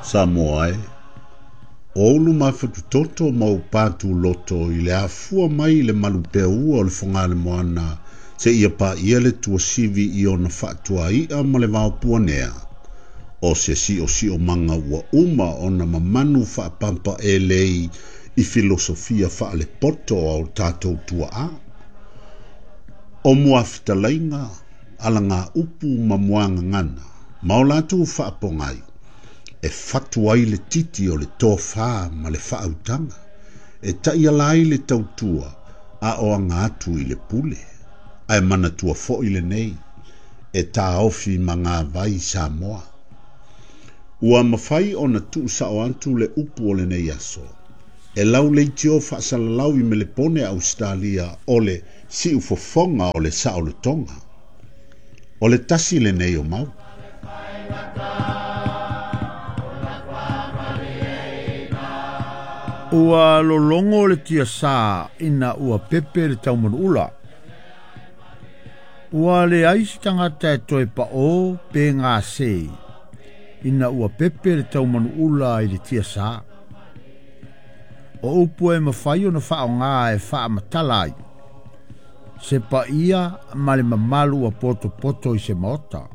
Samoa e, o ou luma fatutoto ma ou pātūloto i le afua mai i le malupeaua o le Fogalemoana seia paia le tuasivi i ona faatuai'a ma le vaopuanea, o se siosiomaga ua uma ona mamanu faapampaelei i filosofia faalepoto a o tatou tuaa. O muafetalaiga, alagaupu ma muagagana, ma o latou faapogai, e fatu ai le titi o le tofā ma le faautaga, e taiala ai le tautua a o aga atu i le pule. Ae manatua foi lenei, e taofi magavai Samoa. Ua mafai ona tuusao atu le upu o lenei aso, e lauleitio faasalalau i Melepone Ausetalia o le siufofoga o le saolotoga. O le tasi lenei o mau. Ua lologo le tiasā ina ua pepe le taumanuula. Ua leai se tagata e toe paʻō pe gasē ina ua pepe le taumanuula i le tiasā. O upu e mafai ona faaaogā e faamatala ai se paia ma le mamalu ua potopoto i se maota.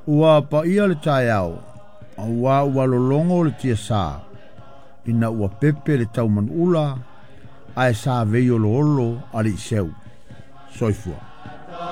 Ua paia le taeao, auā ua lologo le tiasā ina ua pepe le taumanuula ae sa veioloolo aliiseu. Soifua.